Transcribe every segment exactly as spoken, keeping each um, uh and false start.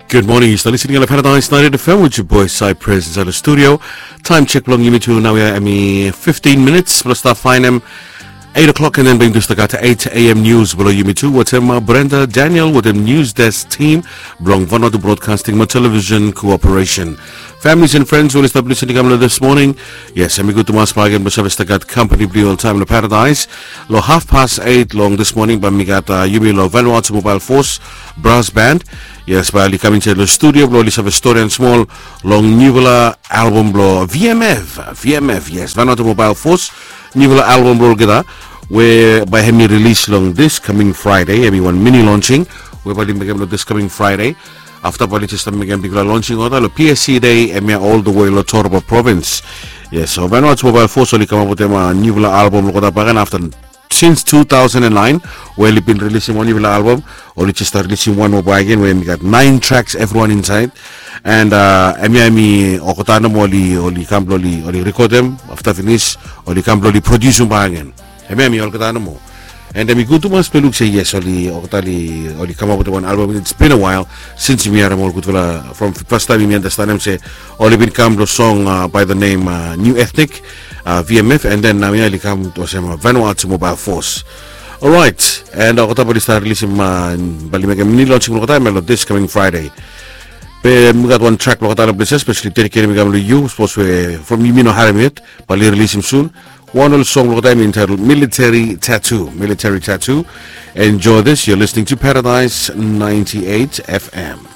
Good morning, yu stap listening long Paradise ninety-eight F M with your boy Cypress inside the studio. Time check blong yumi tu nau ya, hemi fifteen minutes blong stap faenem eight o'clock, and then bring this to gat eight a.m. news blong yumi tu. Wetem uh, Brenda Daniel wetem news desk team blong Vanuatu Broadcasting mo Television Cooperation. Families and friends, we oli stap listening kam long this morning. Yes, hemi gud tumas bak agen blong save stap gat company blong yu oltaem long Paradise. Long half past eight long this morning bae mi gat uh, yumi long Vanuatu Mobile Force Brass Band. Yes, bae oli kam insaed long studio blong oli save storian smol long niufala album blong V M F. V M F, yes, Vanuatu Mobile Force, niufala album blong olgeta we bae hemi release long this coming Friday. Hemi wan mini launching we bae oli mekem long this coming Friday. Afta bae oli jes stap mekem bigfala launching olgeta long P S C Day hemia all the way long Toropa Province. Yes, so Vanuatu Mobile Force oli kamap wetem uh, niufala album long olgeta bak agen afta since two thousand and nine, we oli bin rilisim wan niufala album. Oli jes stap rilisim wan moa bak agen we hemi gat nine tracks evriwan insaed. And uh, hemia hemi olgeta nomo oli, oli kam blong oli, oli rekodem. Afta finis oli kam blong oli prodiusum bak agen. Hemia hemi olgeta nomo. And hemi gud tumas blong luk se yes, oli olgeta oli, oli kamap wetem wan album. It's been a while since yumi harem ol gudfala from fastaem yumi andastanem se oli bin kam blong song uh, by the name uh, New Ethnic, uh, V M F, and then nau ya oli kam olsem uh, Vanuatu Mobile Force. Alright, and uh, olgeta bae oli stap rilisim uh, bae oli mekem mini launching blong olgeta hemia long this coming Friday. Be mi gat wan track blong olgeta long ples ya, specially dediketem i kam long yu, sapos we from yumi no harem yet, bae oli rilisim soon. Wan ol song blong olgeta hemi entitled Military Tattoo. Military Tattoo. Enjoy this. You're listening to Paradise ninety-eight F M.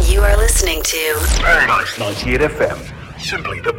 You are listening to Paradise ninety-eight F M. Simply the